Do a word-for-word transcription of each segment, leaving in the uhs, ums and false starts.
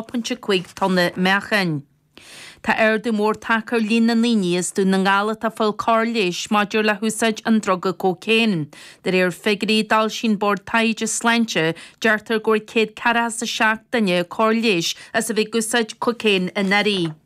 pointe cúig tonna meáchain. Tá ardú mór tagtha ar líon na ndaoine as Dún na nGall atá ag fáil cóir leighis maidir le húsáid an druga cócaon. De réir figiúirí a d'fhoilsigh an Bord Taighde Sláinte, deirtear go bhfuair céad ceathracha is a seacht duine cóir leighis as a bheith ag úsáid cocaine anuraidh.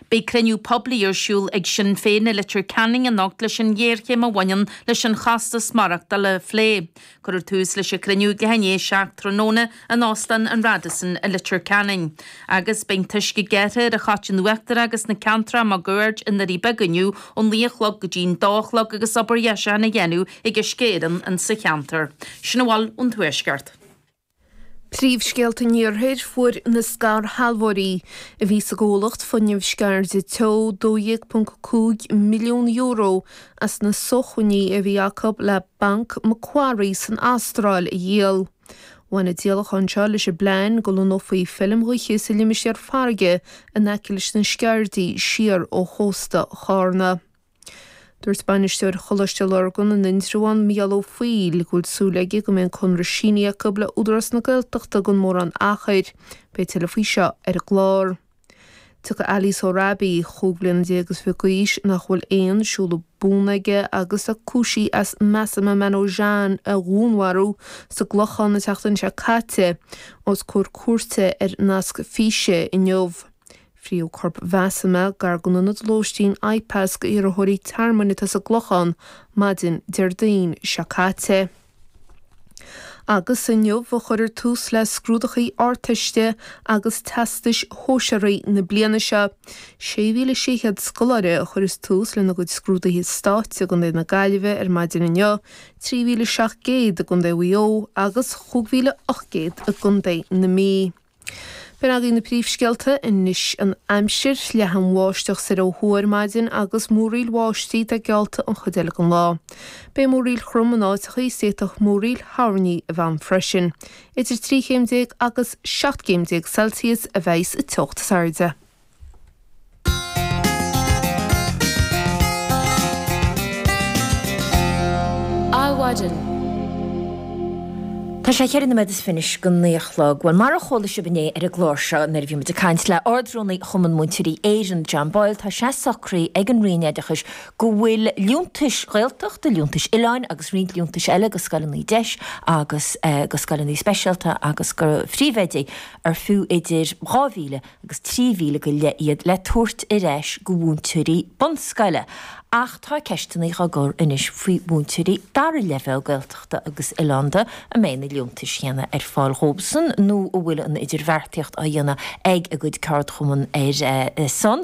Beidh cruinniú poiblí ar siúl ag Sinn Féin i Leitir Ceanainn anocht leis an ghéarchéim a bhaineann leis an chostas maireachtála a phlé. Cuirfear tús leis an chruinniú ag leath i ndiaidh a seacht tráthnóna in Óstán an Radisson i Leitir Ceanainn. Agus beidh an t-uisce gearrtha ar an Choiteann Uachtarach agus na ceantracha máguaird i nDoirí Beaga inniu ón naoi a chlog go dtí an dó a chlog agus obair dheisiúcháin á dhéanamh ag Uisce Éireann insa cheantar. Sin a bhfuil ón Tuaisceart. Príomhscéalta an Iarthair, Fuair na scairshealbhóirí a bhí sa gcomhlacht Fuinneamh Sceirde Teo dó dhéag ponc cúig milliún euro as na sócmhainní a bhí acu le Banc Macquarie san Astráil a dhíol. Bhain an díolachán seo leis an bplean go lonnófaí feilm ghaoithe sa limistéar farraige in aice leis na Sceirdí siar ó chósta Chárna. Dúirt bainisteoir Choláiste Lurgan in Indreabhán, Mícheál Ó Foighil, go bhfuil súil aige go mbeidh an conradh sínithe acu le Údarás na Gaeltachta gan mórán achair. Beidh tuilleadh faoi seo ar an gclár. Tiocfaidh Ali Sohrabi, chúig bliana déag is fiche d'aois, nach bhfuil aon seoladh buan aige agus a cúisíodh as Mahsa Manougian a dhúnmharú sa gClochán an tseachtain seo caite, os comhair cúirte ar nasc físe inniu. Frítheadh corp Mhahsa gar don ionad lóistín IPAS d'iarrthóirí tearmainn atá sa gClochán maidin Déardaoin seo caite. Agus inniu a chuirfear tús le scrúduithe Ardteiste agus Teastais Shóisearaigh na bliana seo. sé mhíle sé chéad scoláire a chuirfeas tús lena gcuid scrúduithe stáit i gContae na Gaillimhe ar maidin inniu, trí mhíle seacht gcéad i gContae Mhaigh Eo agus chúig mhíle ocht gcéad i gContae na Mí. B'in agaibh na príomhscéalta anois an aimsir, leathann bháisteach soir ó thuaidh ar maidin agus múraíl bháistí atá geallta an chuid eile den lá. Beidh múraíl throm in áiteacha is d'fhéadfadh múraíl thoirní a bheith ann freisin. Idir trí chéim déag agus seacht gcéim déag Celsius a bheidh sa teocht is airde. Adhmhaidin. Tá sé cheithre nóiméad is fiche anois go naoi a chlog. Bhuel, mar a chuala sibh inné ar an gclár seo nuair a bhí muid ag caint le Ard-Rúnaí Chumann Múinteoirí Éireann, John Boyle, tá sé socraithe ag an Roinn Oideachais go bhfuil liúntais Ghaeltachta, liúntais oileáin agus roinnt liúntais eile go scoileanna deis agus go scoileanna speisialta agus go phríomhoidí ar fiú idir dhá mhíle agus trí mhíle go leith iad le tabhairt ar ais go mhúinteoirí bunscoile. Ach tá ceisteanna á gcur anois faoi mhúinteoirí dara leibhéal Gaeltachta agus oileánda, an mbeidh na liúntais chéanna ar fáil dhóibhsan nó an bhfuil an idirbheartaíocht á dhéanamh ag a gcuid ceardchumann ar a son.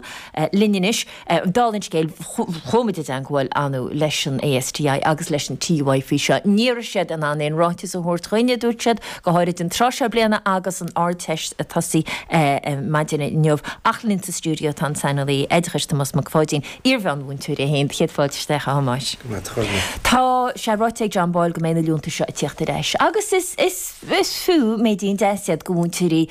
Linn anois, dála an scéil, chuaigh muid i dteangmháil inniu leis an ASTI agus leis an TUI faoi seo. Ní raibh siad in ann aon ráiteas a thabhairt chugainn, a dúirt siad, go háirid an tráth seo bliana agus an Ardteist ag tosaí maidin inniu. Ach linn sa stiúideo tá an saineolaí oideachais Tomás Mac Pháidín, iar-mheánmhúinteoir é féin. Céad fáilte isteach, a Thomáis. Go raibh maith agat. Tá sé ráite ag John Boyle go mbeidh na liúntais seo ag tíocht ar ais agus is is is fiú méidín deas iad go mhúinteoirí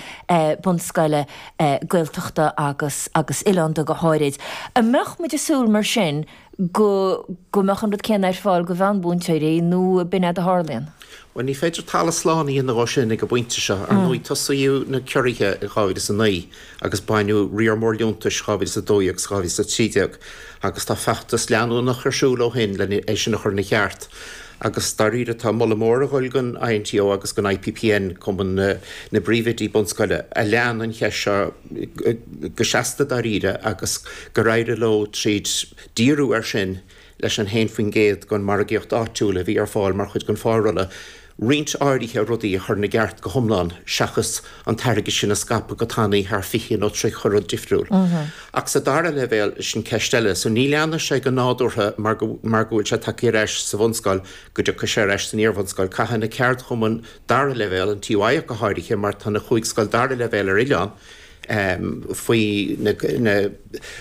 bunscoile Gaeltachta agus agus oileánda go háirid. An mbeadh muid ag súil mar sin go go mbeadh an rud céanna ar fáil go mheánmhúinteoirí nó b'in é a tharlaíonn? Bhuel, ní féidir talamh slán a dhéanamh dhó sin ag an bpointe seo. Ar ndóigh, tosaíodh na ciorruithe in dhá mhíle is a naoi agus baineadh riar mór liúntais dhá mhíle is a dó dhéag agus dhá mhíle is a trí déag agus tá feachtas leanúnach ar siúl ó shin len é sin a chur ina cheart. Agus dáiríre tá moladh mór ag dhul don INTO agus don IPPN, Cumann na bPríomhoidí Bunscoile, a lean an cheist seo go seasta dáiríre agus gur éirigh leo tríd díriú air sin leis an haon faoin gcéad den mhargaíocht áitiúil a bhí ar fáil mar chuid den phárolla, roinnt áirithe rudaí a chur ina gceart go hiomlán seachas an t-airgead sin a scaipeadh go tanaí thar fiche nó tríocha rud difriúil. Ach sa dara leibhéal, sin ceist eile. So ní leanfaidh sé go nádúrtha mar go mar go bhfuil sé tagtha ar ais sa bhunscoil go dtiocfaidh sé ar ais san iarbhunscoil. Caithfidh na ceardchumainn dara leibhéal, an TUI ach go háirithe mar tá na chúig scoil dara leibhéal ar oileán, faoi na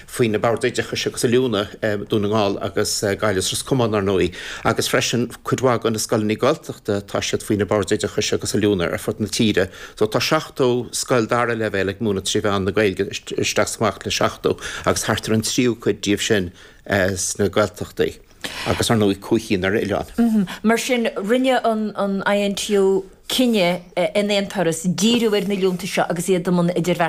faoi na Boird Oideachais agus Oiliúna, Dún na nGall agus Gaillimh is Ros Comáin, ar ndóigh, agus freisin cuid mhaith de na scoileanna Gaeltachta, tá siad faoi na Boird Oideachais agus Oiliúna ar fud na tíre. So tá seachtó scoil dara leibhéal ag múineadh trí mheán na Gaeilge, isteach is amach le seachtó, agus thart ar an tríú cuid díobh sin sna Gaeltachtaí. Agus ar ndóigh cúig cinn ar oileán. Mar sin, rinne an INTO cinneadh in aon turas díriú ar na liúntais seo agus iad i mbun idirbheart.